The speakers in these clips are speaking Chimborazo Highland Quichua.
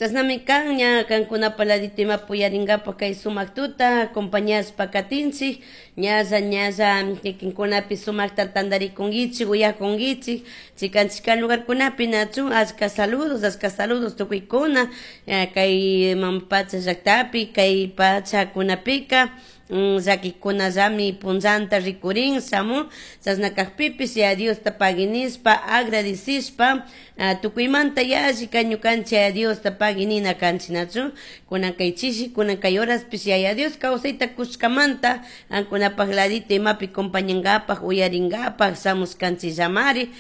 Chashnami kan ña kankunapa ladito imapi uyarinkapak kay sumak tuta acompañashpa katinchik, ñalla ñalla kikinkunapi sumakta tantarikunkichik, uyakunkichik chikan chikan lugarkunapi, nachu? Achka saludos, achka saludos tukuykuna kay mama pacha llaktapi. Kay pachakunapika llakikunallami punllanta rikurin shamun. Chashna kakpipish Yaya Diosta pagui nishpa, agradecishpa, tukuymanta yallika ñukanchik Yaya Diosta pagui nina kanchik, nachu? Kunan kay chishi, kunan kay horaspish Yaya Dios kawsayta kushkamanta ankunapak ladito imapi compañankapak, uyarinkapak shamushkanchikllamari.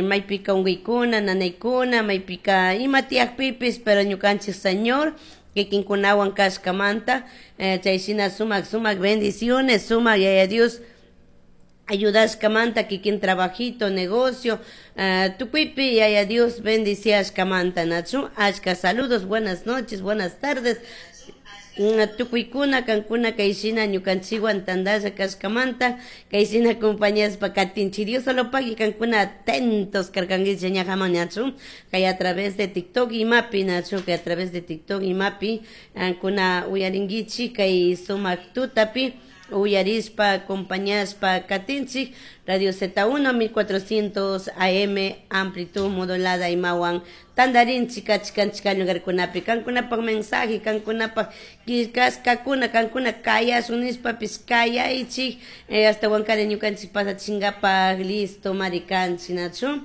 Maypika unkuykuna, nanaykuna, maypika ima tiyakpipish, pero ñukanchik Señor kikinkunawan kashkamanta, chay shina sumak sumak bendiciones, sumak Yaya Dios ayudashkamanta, kikin trabajito, negocio, tukuypi Yaya Dios bendiciashkamanta, nachu? Achka saludos, buenas noches, buenas tardes tukuykuna kankuna kay shina ñukanchikwan tantalla kashkamanta, kay shina acompañashpa katinchik. Dios solo pagui kankuna atentos karkankichik ñajaman, nachu? Kay a través de TikTok imapi, nachu? Kay a través de TikTok imapi kankuna uyarinkichik. Kay sumak tutapi uyarishpa acompañashpa katinchik Radio Z1 1400 AM amplitud modulada imawan tantarinchik chikan chikan lugarkunapi. Kankunapak mensaje, kankunapak killkashkakuna, kankuna kayashun nishpapis kayaychik, ashtawankari ñukanchik pasachinkapak listo mari kanchik, nachu?